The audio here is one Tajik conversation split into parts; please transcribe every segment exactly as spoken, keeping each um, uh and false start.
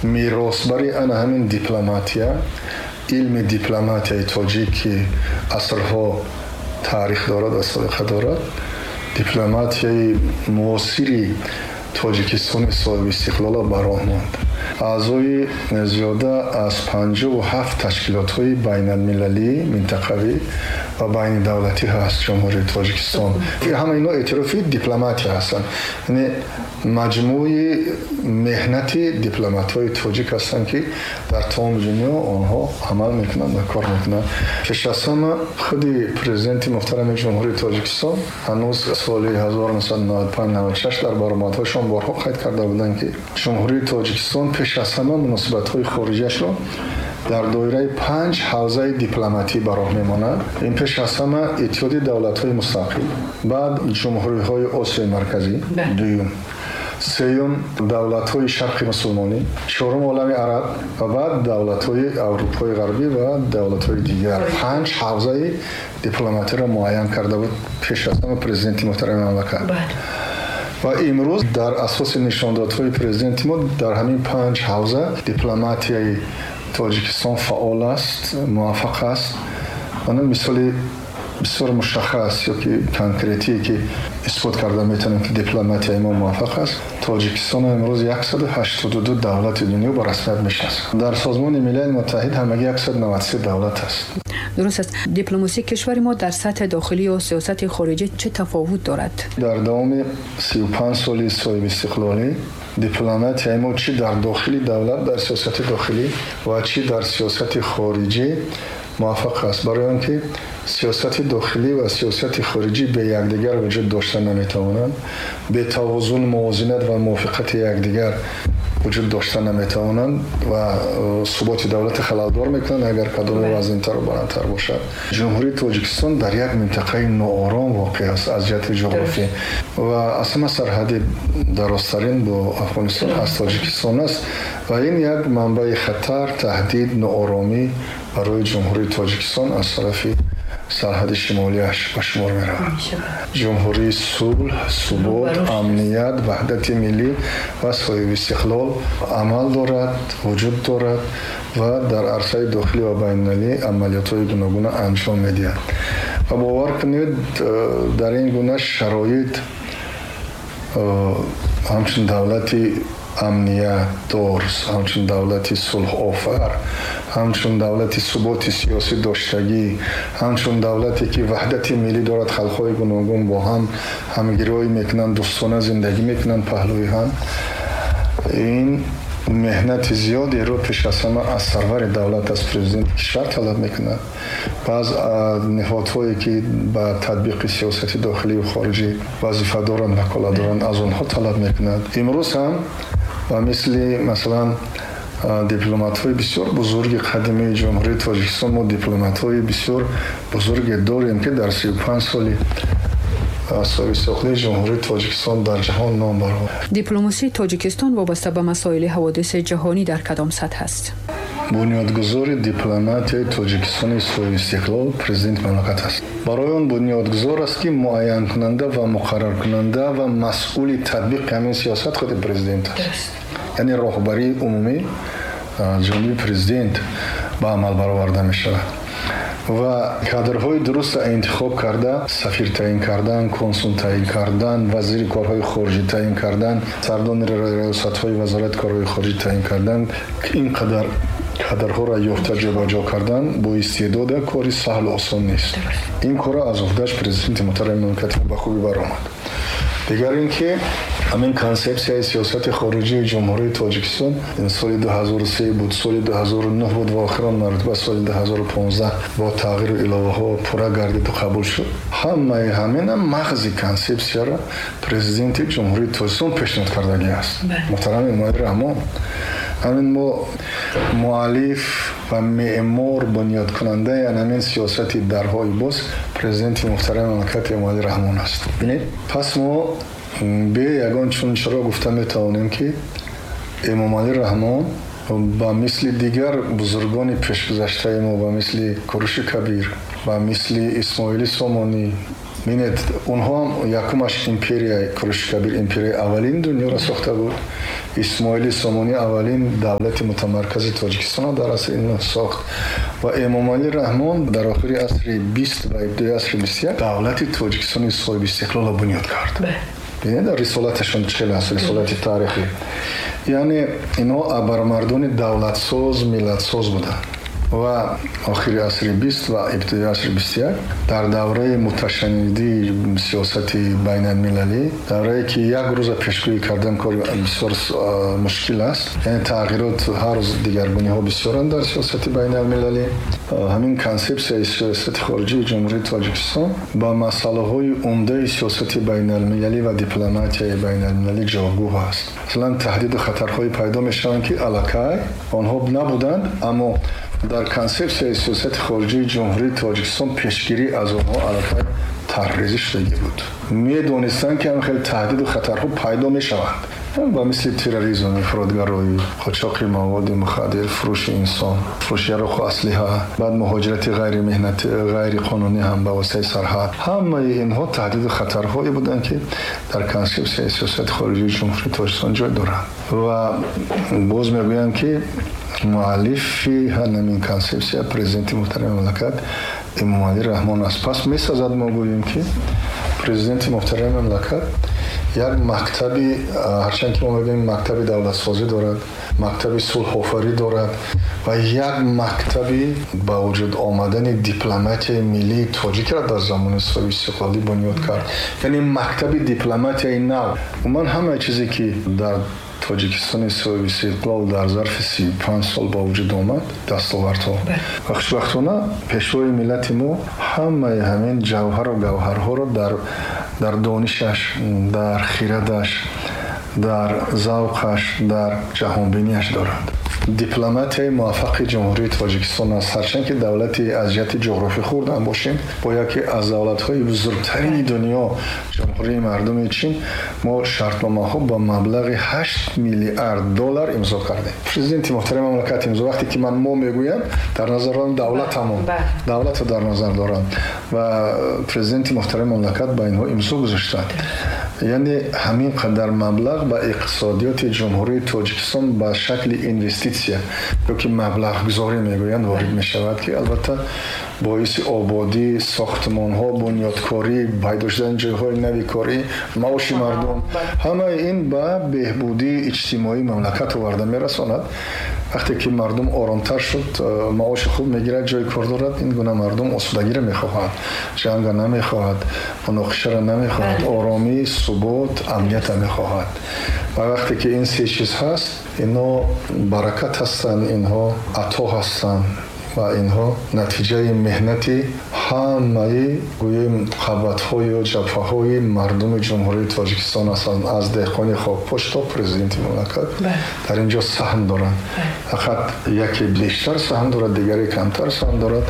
Меросбари ана ҳамин дипломатия, илми дипломатияи тоҷик, ки асрҳо таърих дорад ва собиқа дорад, дипломатияи муосири Тоҷикистони соҳиби истиқлолро ба роҳ монд. Аъзои зиёда аз панҷоҳу ҳафт ташкилотҳои байналмилалӣ, минтақавӣ ва байнидавлатӣ ҳаст Ҷумҳурии Тоҷикистон. Ҳама инҳо эътирофи дипломатия ҳастанд, яъне маҷмӯи меҳнати дипломатҳои тоҷик ҳастанд, ки дар тамоми дунё онҳо амал мекунанд ва кор мекунанд. Пеш аз ҳама худи президенти муҳтарами Ҷумҳурии Тоҷикистон ҳанӯз соли ҳазору нӯҳсаду наваду панҷ наваду шаш дар баромадҳояшон борҳо қайд карда буданд, ки Ҷумҳурии Тоҷикистон пеш аз ҳама муносибатҳои хориҷиашро дар доираи панҷ ҳавзаи дипломатӣ ба роҳ мемонад. Ин пеш аз ҳама Иттиҳоди давлатҳои мустақил, баъд ҷумҳуриҳои Осиёи Марказӣ, дуюм, сеюм давлатҳои Шарқи мусулмонӣ, чорум олами араб ва баъд давлатҳои Аврупои Ғарбӣ ва давлатҳои дигар. Панҷ ҳавзаи дипломатиро муайян карда буд пеш аз ҳама президенти муҳтарами мамлакат. Ва имрӯз дар асоси нишондодҳои президенти мо дар ҳамин панҷ ҳавза дипломатияи Тоҷикистон фаъол аст, муваффақ аст. Ана мисоли бисёр мушаххас ё ки конкретие, ки исбот карда метавонем, ки дипломатияи мо муваффақ аст: Тоҷикистон имрӯз яксаду ҳаштоду ду давлати дунё ба расмият мешинасад. Дар Созмони Милали Муттаҳид ҳамагӣ яксаду наваду се давлат аст. Дуруст аст. Дипломасии кишвари мо дар сатҳи дохилӣ ё сиёсати хориҷӣ чӣ тафовут дорад? Дар давоми сию панҷ соли соҳибистиқлолӣ дипломатияи мо чӣ дар дохили давлат, дар сиёсати дохилӣ, ва чӣ дар сиёсати хориҷӣ муваффақ аст, барои он ки сиёсати дохилӣ ва сиёсати хориҷӣ бе якдигар вуҷуд дошта наметавонанд, бе тавозун, мувозинат ва мувофиқати якдигар вуҷуд дошта наметавонанд ва э, суботи давлати халалдор мекунанд, агар кадоме вазнинтару баландтар бошад. Ҷумҳурии Тоҷикистон дар як минтақаи ноором воқеъ аст аз ҷиҳати ҷуғрофӣ ва аз ҳама сарҳади дарозтарин бо Афғонистон аз Тоҷикистон аст ва ин як манбаи хатар, таҳдид, нооромӣ барои Ҷумҳурии Тоҷикистон аз тарафи сарҳади шимолиаш ба шумор меравад. Ҷумҳурии сулҳ, субот, амният, ваҳдати миллӣ ва соҳибистиқлол амал дорад, вуҷуд дорад ва дар арсаи дохилӣ ва байналмилалӣ амалиётҳои гуногуна анҷом медиҳад. Ва бовар кунед, дар ин гуна шароит ҳамчун давлати амниятдор, ҳамчун давлати сулҳофар, ҳамчун давлати суботи сиёсӣ доштагӣ, ҳамчун давлате ки ваҳдати миллӣ дорад, халқҳои гуногун бо ҳам ҳамгироӣ мекунанд, дӯстона зиндагӣ мекунанд паҳлӯи ҳам, ин меҳнати зиёдеро пеш аз ҳама аз сарвари давлат, аз президенти кишвар талаб мекунад ва аз ниҳодҳое, ки ба татбиқи сиёсати дохилию хориҷӣ вазифа доранд, ваколат доранд, аз онҳо талаб мекунад. Имрӯз ҳам ба мисли, масалан, дипломатҳои бисёр бузурги қадимии Ҷумҳурии Тоҷикистон, мо дипломатҳои бисёр бузурге дорем, ки дар сию панҷ соли соҳибистиқлолии Ҷумҳурии Тоҷикистон дар ҷаҳон ном баровард. Дипломасии Тоҷикистон вобаста ба масоили ҳаводиси ҷаҳонӣ дар кадом сатҳ аст? Бунёдгузори дипломатияи Тоҷикистони соҳибистиқлол президенти мамлакат аст. Барои он бунёдгузор аст, ки муайянкунанда ва муқарраркунанда ва масъули татбиқи ҳамин сиёсат худи президент аст, яъне роҳбарии умумӣ ҷониби президент ба амал бароварда мешавад ва кадрҳои дурустро интихоб карда, сафир таъин кардан, консул таъин кардан, вазири корҳои хориҷӣ таъин кардан, сардони раёсатҳои Вазорати корҳои хориҷӣ таъин кардан, ин қадар кадрҳоро ёфта ҷобаҷо кардан бо истеъдода кори саҳлу осон нест. Ин корро аз уҳдаш президенти муҳтарами мамлакати ба хубӣ баромад. Дигар ин ки ҳамин консепсияи сиёсати хориҷии Ҷумҳурии Тоҷикистон соли ду ҳазору се буд, соли ду ҳазору нӯҳ буд ва охирон маротиба соли ду ҳазору понздаҳ бо тағйиру иловаҳо пурра гардиду қабул шуд. Ҳамаи ҳамина мағзи консепсияро президенти Ҷумҳурии Тоҷикистон пешниҳод кардагӣ аст, муҳтарам Эмомалӣ Раҳмон. Ҳамин мо муаллиф ва меъмор, бунёдкунандаи ҳамин сиёсати дарҳои боз президенти муҳтарами мамлакат Эмомалӣ Раҳмон аст. Бинед, пас мо бе ягон чун чаро гуфта метавонем, ки Эмомалӣ Раҳмон ба мисли дигар бузургони пешгузаштаи мо, ба мисли Куруши Кабир, ба мисли Исмоили Сомонӣ, Бинед, онҳо ҳам якумаш империяи Куруши Кабир империяи аввалин дунёро сохта буд. Исмоили Сомонӣ аввалин давлати мутамаркази Тоҷикистонро дар асри нӯҳ сохт ва Эмомалӣ Раҳмон дар охири асри бист ва ибтидои асри бисту як давлати Тоҷикистони соҳиби истиқлолро бунёд кард. Бинед, рисолаташон чӣ аст, рисолати таърихӣ. Яъне инҳо абармардони давлатсоз, миллатсоз буданд. Ва охири асри бист ва ибтидои асри бисту як дар давраи муташаннидии сиёсати байналмилалӣ, даврае ки як рӯза пешгӯӣ кардан кори бисёр мушкил аст, яъне тағйирот ҳар рӯз дигаргуниҳо бисёранд дар сиёсати байналмилалӣ. Ҳамин консепсияи сиёсати хориҷии Ҷумҳурии Тоҷикистон ба масъалаҳои умдаи сиёсати байналмилалӣ ва дипломатияи байналмилалӣ ҷавобгӯ аст. Масалан, таҳдиду хатарҳое пайдо мешаванд, ки аллакай онҳо набуданд, аммо дар консепсияи сиёсати хориҷии Ҷумҳурии Тоҷикистон пешгирӣ аз онҳо аллакай тарҳрезӣ шудагӣ буд. Медонистанд, ки ҳам хеле таҳдиду хатарҳо пайдо мешаванд, ба мисли терроризм, ифротгароӣ, қочоқи маводи мухаддир, фурӯши инсон, фурӯши яроқу аслиҳа, баъд муҳоҷирати ғайримеҳнатӣ, ғайриқонунӣ ҳам ба воситаи сарҳад. Ҳамаи инҳо таҳдиду хатарҳое буданд, ки дар консепсияи сиёсати хориҷии Ҷумҳурии Тоҷикистон ҷой доранд. Ва боз мегӯям, ки муаллифи ҳамин консепсия президенти муҳтарами мамлакат Эмомалӣ Раҳмон аст. Пас месазад мо гӯем, ки президенти муҳтарами мамлакат як мактаби, ҳарчанд ки мо мегӯем мактаби давлатсозӣ дорад, мактаби сулҳофарӣ дорад ва як мактаби ба вуҷуд омадани дипломатияи миллии тоҷикро дар замони соҳиби истиқлолӣ бунёд кард. Яъне мактаби дипломатияи нав. Умуман ҳамаи чизе ки дар Тоҷикистони соҳиби истиқлол дар зарфи сию панҷ сол ба вуҷуд омад, дастовардҳо. Ва хушбахтона пешвои миллати мо ҳамаи ҳамин ҷавҳару гавҳарҳоро дар дар донишаш, дар хирадаш, дар завқаш, дар ҷаҳонбинияш дорад. Дипломатияи муваффақи Ҷумҳурии Тоҷикистон аст. Ҳарчанд ки давлати аз ҷиҳати ҷуғрофӣ хурд ҳам бошем, бо яке аз давлатҳои бузургтарини дунё, Ҷумҳурии мардуми Чин, мо шартномаҳо ба маблағи ҳашт миллиард доллар имзо кардем. Президенти муҳтарами мамлакат имзо, вақте ки ман мо мегӯям, дар назар дорам давлатамон, давлатро дар назар дорам ва президенти муҳтарами мамлакат ба инҳо имзо гузоштанд. Яъне ҳамин қадар маблағ ба иқтисодиёти Ҷумҳурии Тоҷикистон ба шакли инвеститсия ё ки маблағгузорӣ мегӯянд ворид мешавад, ки албатта боиси ободӣ, сохтмонҳо, бунёдкорӣ, пайдо шудани ҷойҳои нави корӣ, маоши мардум, ҳамаи ин ба беҳбудии иҷтимоии мамлакат оварда мерасонад. Вақте ки мардум оромтар шуд, маоши хуб мегирад, ҷои кор дорад, ин гуна мардум осудагиро мехоҳад, ҷанга намехоҳад, муноқишаро намехоҳад, оромӣ, субот, амниятро мехоҳад. Ва вақте ки ин се чиз ҳаст, инҳо баракат ҳастанд, инҳо ато ҳастанд ва инҳо натиҷаи меҳнати ҳамаи гӯем қабатҳою ҷабҳаҳои мардуми Ҷумҳурии Тоҷикистон ҳастанд, аз деҳқони хокпош то президенти мамлакат дар ин ҷо саҳм доранд. Фақат яке бештар саҳм дорад, дигаре камтар саҳм дорад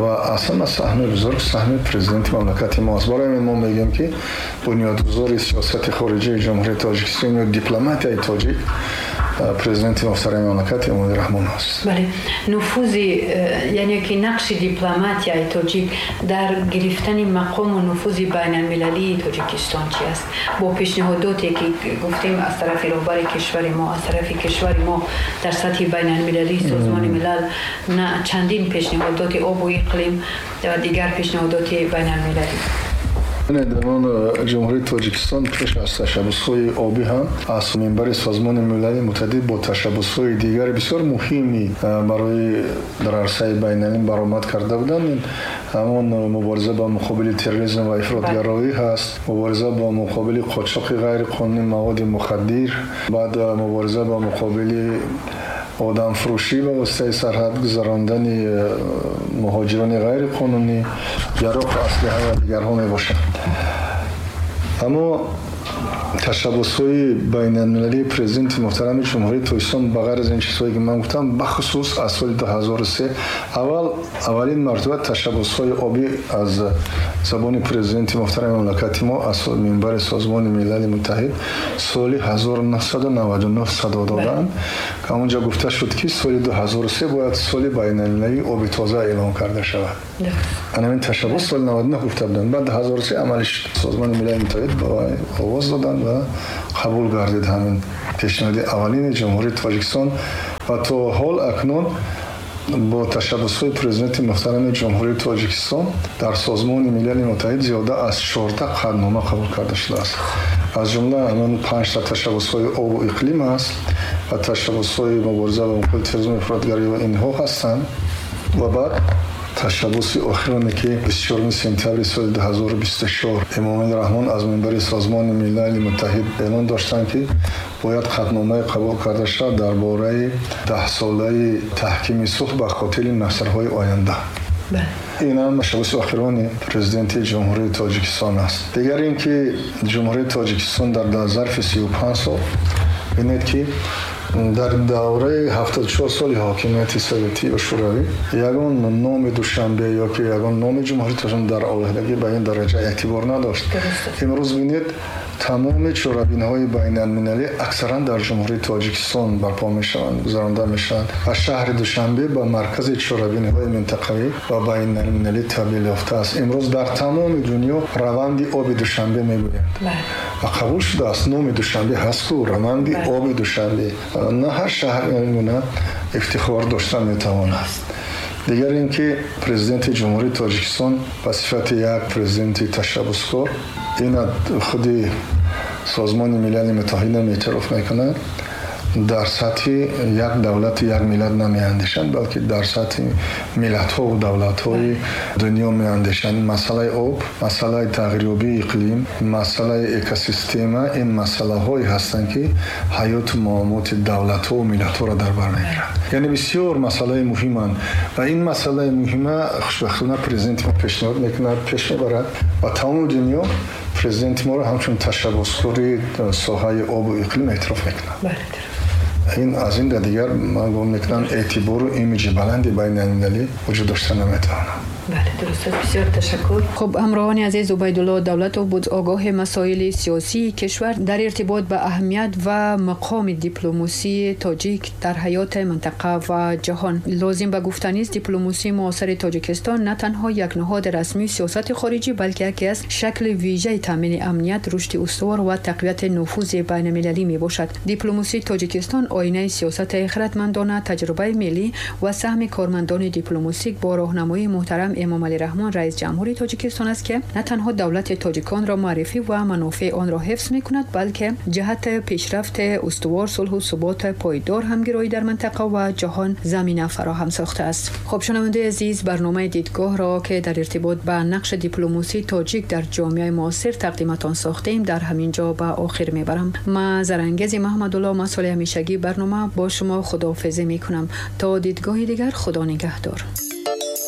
ва аслан саҳми бузург саҳми президенти мамлакати мо аст. Барои ҳамин мо мегӯем, ки бунёдгузори сиёсати хориҷии Ҷумҳурии Тоҷикистон ё дипломатияи тоҷик президенти муҳтарами мамлакат Эмомалӣ Раҳмон аст. Бале, нуфузи, яъне ки нақши дипломатияи тоҷик дар гирифтани мақому нуфузи байналмилалии Тоҷикистон чи аст? Бо пешниҳодоте ки гуфтем аз тарафи роҳбари кишвари мо, аз тарафи кишвари мо дар сатҳи байналмилалии Созмони Милал на чандин пешниҳодоти обу иқлим ва дигар пешниҳодоти байналмилалӣ. Дар он Ҷумҳурии Тоҷикистон пеш аз ташаббусҳои обӣ ҳам аз минбари Созмони Милали Муттаҳид бо ташаббусҳои дигари бисёр муҳими барои дар арсаи байналмилалӣ баромад карда буданд. Ин ҳамон мубориза ба муқобили терроризм ва ифротгароӣ ҳаст, мубориза ба муқобили қочоқи ғайриқонунии маводи мухаддир, баъд мубориза ба муқобили одамфурӯшӣ ба воситаи сарҳад гузарондани муҳоҷирони ғайриқонунӣ, яроқу аслиҳа ва дигарҳо мебошанд. Аммо ташаббусҳои байналмилалии президенти муҳтарами Ҷумҳурии Тоҷикистон ба ғайр аз ин чизҳое ки ман гуфтам, бахусус аз соли ду ҳазору се аввал аввалин мартаба ташаббусҳои обӣ аз забони президенти муҳтарами мамлакати мо аз минбари Созмони Милали Муттаҳид соли ҳазору нӯҳсаду наваду нӯҳ садо доданд. Ҳамонҷо гуфта шуд, ки соли ду ҳазору се бояд соли байналмилалии оби тоза эълон карда шавад. Ҳамин ташаббус соли наваду нӯҳ гуфта буданд. Баъд ду ҳазору се амалӣ шуд. Созмони Милали Муттаҳид ба овоз доданд ва қабул гардид ҳамин пешниҳоди аввалини Ҷумҳурии Тоҷикистон ва то ҳол акнун бо ташаббусҳои президенти муҳтарами Ҷумҳурии Тоҷикистон дар Созмони Милали Муттаҳид зиёда аз чордаҳ қатънома қабул карда шудааст. Аз ҷумла ҳамин панҷта ташаббусҳои обу иқлим аст ва ташаббусҳои мубориза ба муқобили терроризму ифротгарӣ ва инҳо ҳастанд. Ва баъд ташаббуси охироне, ки бисту чоруми сентябри соли ду ҳазору бисту чор Эмомалӣ Раҳмон аз минбари Созмони Милали Муттаҳид эълон доштанд, ки бояд қатъномае қабул карда шавад дар бораи даҳсолаи таҳкими сулҳ ба хотири наслҳои оянда. Ин ҳам ташаббуси охирони президенти Ҷумҳурии Тоҷикистон аст. Дигар ин ки Ҷумҳурии Тоҷикистон дар зарфи сию панҷ сол бинед, ки дар давраи ҳафтоду чор соли ҳокимияти советӣ ва шӯравӣ ягон номи Душанбе ё ки ягон номи Ҷумҳурии Тоҷикистон дар алоҳидагӣ ба ин дараҷа эътибор надошт. Имрӯз бинед, тамоми чорабиниҳои байналмилалӣ аксаран дар Ҷумҳурии Тоҷикистон барпо мешаванд, гузаронда мешаванд ва шаҳри Душанбе ба маркази чорабиниҳои минтақавӣ ва байналмилалӣ табдил ёфтааст. Имрӯз дар тамоми дунё раванди оби Душанбе мегӯянд ва қабул шудааст номи Душанбе ҳаст ку раванди оби Душанбе. На ҳар шаҳр ин гуна ифтихор дошта метавонад. Дигар ин ки президенти Ҷумҳурии Тоҷикистон ба сифати як президенти ташаббускор ина худи Созмони Милали Муттаҳидам эътироф мекунад, дар сатҳи як давлату як миллат намеандешанд, балки дар сатҳи миллатҳову давлатҳои дунё меандешанд. Масъалаи об, масъалаи тағйирёбии иқлим, масъалаи экосистема ин масъалаҳое ҳастанд, ки ҳаёту муомилоти давлатҳову миллатҳоро дар бар мегиранд. Яъне бисёр масъалаи муҳиманд ва ин масъалаи муҳима хушбахтона президенти мо пешниҳод мекунад, пеш мебарад ва тамоми дунё президенти моро ҳамчун ташаббускори соҳаи обу иқлим эътироф мекунад. Ин аз ин да дигар ман гумон мекунам эътибору имиҷи баланди байналмилалӣ вуҷуд дошта наметавонад. Бале, дуруст аст. Бисёр ташаккур. Хуб, ҳамроҳони азиз, Убайдулло Давлатов буд, огоҳи масоили сиёсии кишвар дар иртибот ба аҳамият ва мақоми дипломасии тоҷик дар ҳаёти минтақа ва ҷаҳон. Лозим ба гуфтанист, дипломасии муосири Тоҷикистон на танҳо як ниҳоди расмии сиёсати хориҷӣ, балки яке аз шакли вижаи таъмини амният, рушди устувор ва тақвияти нуфузи байналмилалӣ мебошад. Дипломасии Тоҷикистон оинаи сиёсати хиратмандона, таҷрибаи миллӣ ва саҳми кормандони дипломасик бо роҳнамоии муҳтарам Эмомалӣ Раҳмон, раис ҷумҳури Тоҷикистон аст, ки на танҳо давлати тоҷиконро муаррифӣ ва манофеи онро ҳифз мекунад, балки ҷиҳати пешрафти устувор, сулҳу субот пойдор, ҳамгироӣ дар минтақа ва ҷаҳон замина фароҳам сохтааст. Хуб, шунавандаи азиз, барномаи дидгоҳро, ки дар иртибот ба нақши дипломасии тоҷик дар ҷомеаи муосир тақдиматон сохтем, дар ҳамин ҷо ба охир мебарам. Ман Зарангези Маҳмадулло, масъули ҳамешагии барнома, бо шумо худоҳофизӣ мекунам. То дидгоҳи дигар, Худо нигаҳдор.